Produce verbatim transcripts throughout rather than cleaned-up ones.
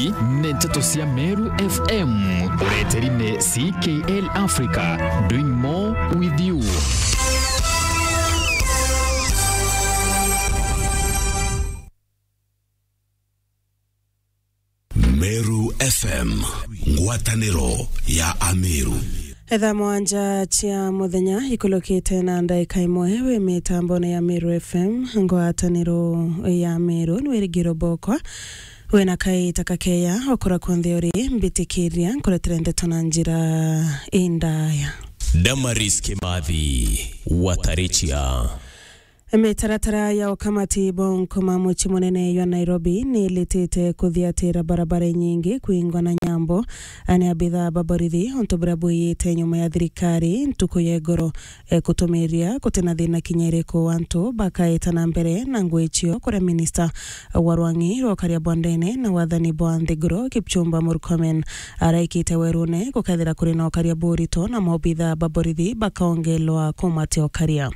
Ni nteto cia Meru F M, ureteri ni C K L Africa, doing more with you. Meru F M, ngwataniro ya Ameru. Thaa mwanja cia muthenya ikulukite na ndaika imwe wi mitambone ya Meru F M, ngwataniro ya Meru, ni Wirigiro Bokwa. Wina kaita kakeya okura kunthe uri, mbitikiria nkuretere ndeto na njira indaya. Damaris Kimathi, Watarichia. Mitaratara ya ukamati bwa nkuma mucii munene jwa Nairobi ni ilitite kuthiatira barabara inyingi kwingwa na nyambo ni abitha ba borithi, untu buria bwiyite nyuma ya thirikari ntuku ya igoro, e, kutumiria gutina thina kinya iriku antu bakaeta na mbere na ngui cio, kuria minista wa rwang'i rwa ukaria bwa ndene na wathani bwa nthiguru, Kipchumba Murkomen, araikite werune gukethira kuri na ukaria burito na mobitha ba borithi bakaongelwa kumatia ukaria.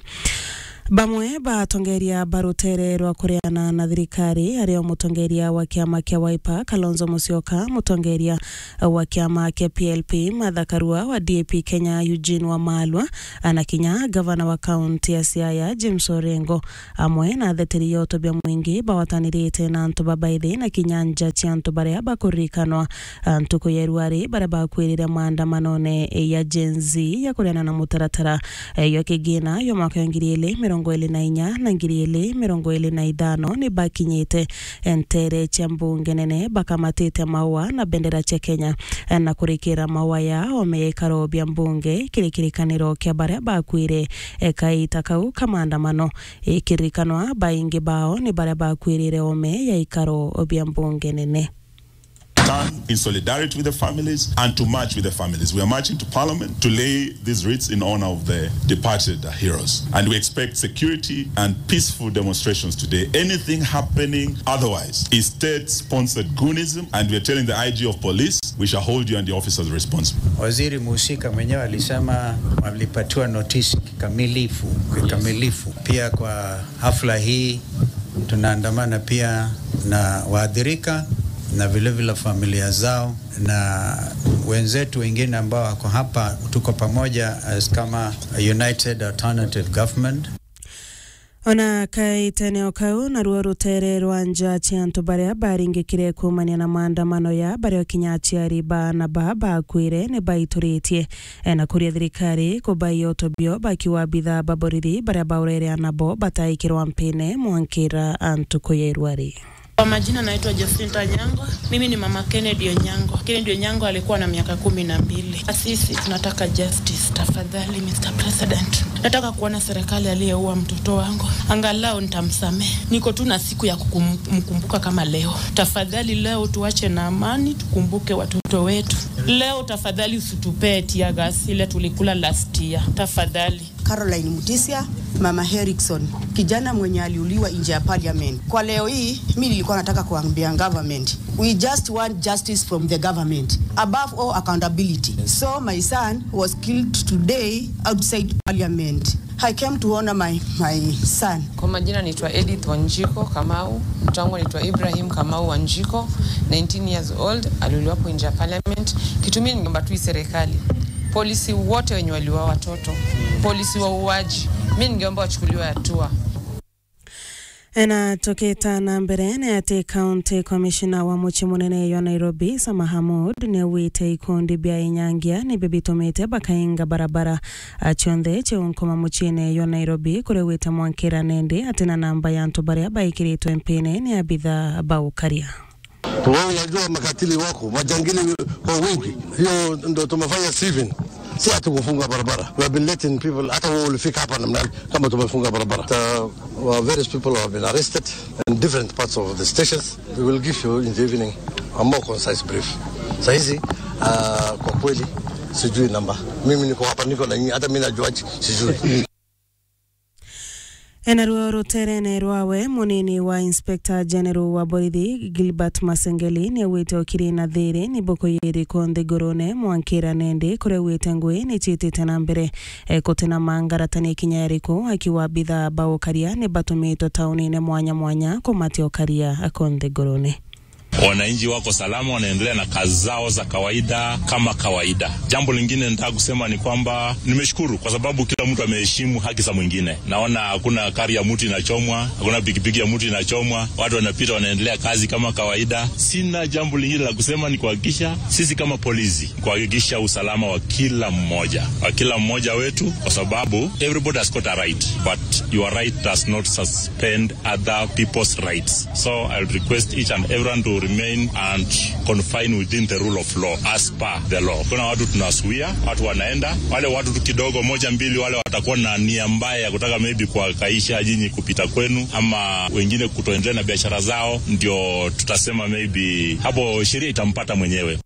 Bamwe ba atongeria ba rutere rwa kureana na thirikari, ario mutongeria wa kiama kia Wiper, Kalonzo Musyoka, mutongeria wa kiama kia P L P, Martha Karua, wa D A P Kenya, Eugene Wamalwa, na kinya gavana wa kaunti ya Siaya, James Orengo, amwe na atheteri ya utobia mwingi bawatanirite na antu babaithi na kinya nja cia antu baria bakuririkanwa, a, ntuku ya iruari, baria bakwirire maandamanone ya Gen Z ya kureana na mutaratara, e, jwa kigina jwa mwaka wa ngiri ili mirongo ili na inya na ngiri ili mirongo ili na ithano ni bakinyite, e, ntere cia mbunge nene, bakamatite maua na bendera cia Kenya, e, na kurikira maua ya ome ya ikaro bia mbunge kiri kirikaniro kia baria bakwire, e, kaita kau ka maandamano. Ikirikanwa, baingi bao ni baria bakwirire ome ya ikaro bia mbunge nene. Stand in solidarity with the families and to march with the families. We are marching to Parliament to lay these wreaths in honor of the departed heroes. And we expect security and peaceful demonstrations today. Anything happening otherwise is state-sponsored goonism, and we are telling the I G of police, we shall hold you and your officers responsible. Waziri muhusika mwenyewe alisema walipatiwa notice kikamilifu, kikamilifu. Pia kwa hafla hii tunaandamana pia na waathirika na vile vile familia zao na wenzetu wengine ambao wako hapa, tuko pamoja as kama United Alternative Government. Ona kaitene o kau, naruo rutere rwa nja cia antu baria baringikire kuumania na maandamano ya baria kinya aciari baana baa bakwire ni baituritie, e, na kuria thirikari kubaia utobio bakiwa abitha ba borithi baria baurere anabo bataikirwa mpine mwankira antu kuya iruari. Kwa majina naitwa Jacinta Nyangwa. Mimi ni mama Kennedy Onyango. Kennedy Onyango alikuwa na miaka kumi na mbili. Sisi tunataka justice, tafadhali, Mister President. Nataka kuona serikali aliyeua mtoto wangu. Angalau nitamsamehe. Niko tu na siku ya kukum-, kumkumbuka kama leo. Tafadhali, leo tuache na amani, tukumbuke watoto wetu. Leo tafadhali usitupee tear gas ile tulikula last year. Tafadhali. Caroline Mutisia, Mama Erickson, kijana mwenye aliuliwa nje ya parliament. Kwa leo hii, mi nilikuwa nataka kuambia government, we just want justice from the government. Above all, accountability. So my son was killed today outside parliament. I came to honor my, my son. Kwa majina naitwa Edith Wanjiko Kamau, mtoto wangu anaitwa Ibrahim Kamau Wanjiko, nineteen years old, aliuliwa hapo nje ya parliament. Kitu mimi ningeomba tu hii serikali, polisi wote wenye waliua watoto, polisi wauaji, mimi ningeomba wachukuliwe hatua. Ena tukita na mbere ni ati County Commissioner wa mucii munene jwa Nairobi, Isa Mahamud, ni augite ikundi bia inyangia nibio bitumite bakainga barabara, a, cionthe ciunkuma muciine jwa Nairobi, kuria augite mwankira nendi ati na namba ya antu baria baikiritwe mpine ni abitha ba ukaria. Wewe unajua makatili wako, majangili kwa wingi. Hiyo ndo tumefanya sieving. Si ati kufunga barabara. We have been letting people, hata wewe ulifika hapa namna gani kama tumefunga barabara? The, uh, various people have been arrested in different parts of the stations. We will give you in the evening a more concise brief. Saa hizi, uh, kwa kweli sijui namba. Mimi niko hapa, niko na nyinyi, hata mimi najuaje? Sijui. Enaruo ruterene rwawe, munini wa Inspector General wa borithi, Gilbert Masengeli, ni augite ukiri na thiri ni buku yiriku nthigurune mwankira nendi, kuria augite ngui ni ciitite na mbere, e, gutina mangaratania kinya iriku, akiuga abitha ba ukaria ni batumitwe taunine mwanya mwanya kumatia ukaria ku nthigurune. Wananchi wako salama, wanaendelea na kazi zao za kawaida kama kawaida. Jambo lingine nataka kusema ni kwamba nimeshukuru kwa sababu kila mtu ameheshimu haki za mwingine. Naona hakuna gari ya mtu inachomwa, hakuna pikipiki ya mtu inachomwa, watu wanapita, wanaendelea kazi kama kawaida. Sina jambo lingine la kusema, ni kuhakikisha sisi kama polisi, kuhakikisha usalama wa kila mmoja, wa kila mmoja wetu, kwa sababu everybody has got a right, but your right does not suspend other people's rights. So I would request each and everyone to remain and confine within the rule of law, as per the law. Kuna watu tunazuia, watu wanaenda, wale watu tu kidogo, moja mbili, wale watakuwa na nia mbaya ya kutaka maybe kuhangaisha nyinyi kupita kwenu, ama wengine kutoendelea na biashara zao, ndio tutasema maybe hapo sheria itampata mwenyewe.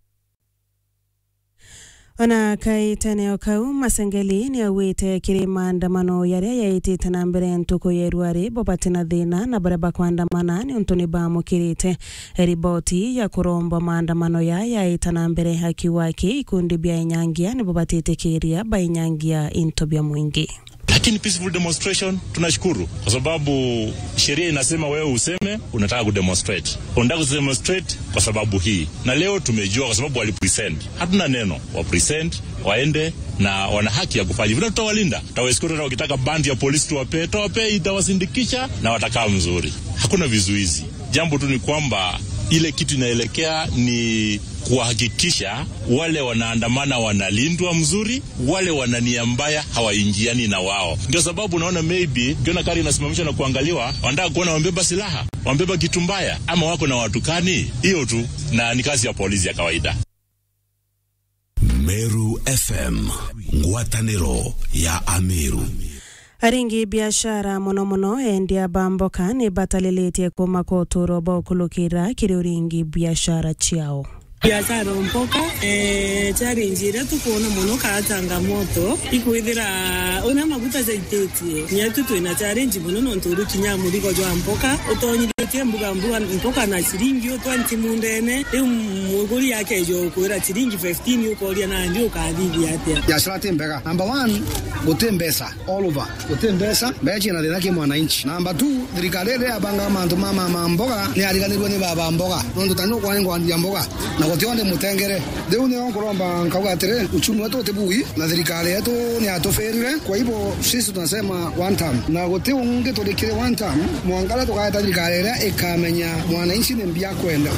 Ona kaitene o kau, Masengeli ni augite kiri maandamano yaria yaitite na mbere ntuku ya irua ri, bo bati na thina na baria bakwandamana niuntu ni baamukirite riboti ya kurombwa maandamano ya yaita na mbere, akiuga aki ikundi bia inyangia nibo batitikiria bainyangia into bia mwingi. Lakini peaceful demonstration, tunashukuru kwa sababu sheria inasema wewe useme unataka kudemonstrate. Unataka kudemonstrate kwa sababu hii. Na leo tumejua kwa sababu walipresent. Hatuna neno, wapresent, waende na wana haki ya kufanya. Vile tutawalinda, tutawaescort, hata wakitaka band ya polisi tuwapee, tutawapee, itawasindikisha na watakaa mzuri. Hakuna vizuizi. Jambo tu ni kwamba ile kitu inaelekea ni kuhakikisha wale wanaandamana wanalindwa mzuri, wale wana nia mbaya hawaingiani na wao. Ndio sababu unaona maybe ukiona gari inasimamishwa na kuangaliwa, wanataka kuona wamebeba silaha, wamebeba kitu mbaya, ama wako na watu kani, hiyo tu, na ni kazi ya polisi ya kawaida. Meru F M, ngwatanĩro ya Ameru. Aringi biashara, mono mono endia ba mboka, ni batalilitie kuuma kwa uturo bwa ukulukira kiri uringi biashara ciao. Biashara mboka, eh, challenge iria tukuona mono kaa changamoto ikwithira una maguta jaititie. Nyetu twina challenge mono nontu uri kinya murigo jwa mboka utonyithitie mbuga mbuga mboka na ciringi u twenty mundene, riu muguri akeja ukwira ciringi fifteen, ukoria nandi ukathithia atia? Biashara ti mbega. Number one, guti mbeca all over. Guti mbeca, mbeca ciina thina ki mwananchi. Number two, thirikari iria yabanga mantu ma, ma, ma mboga ni yariganirwe ni baba mboga. Nontu tani ukwani ngwandia mboga, na guti onde mutengere. Riu nio nkuromba nkauga atiri, uchumi wetu uti bui, na thirikari yetu ni yatufirire. Kwa hivyo, sisi tunasema one term. Na guti ungi turikire one term, mwangara tukaeta thirikari iria ikamenya mwananchi ni mbia kwenda.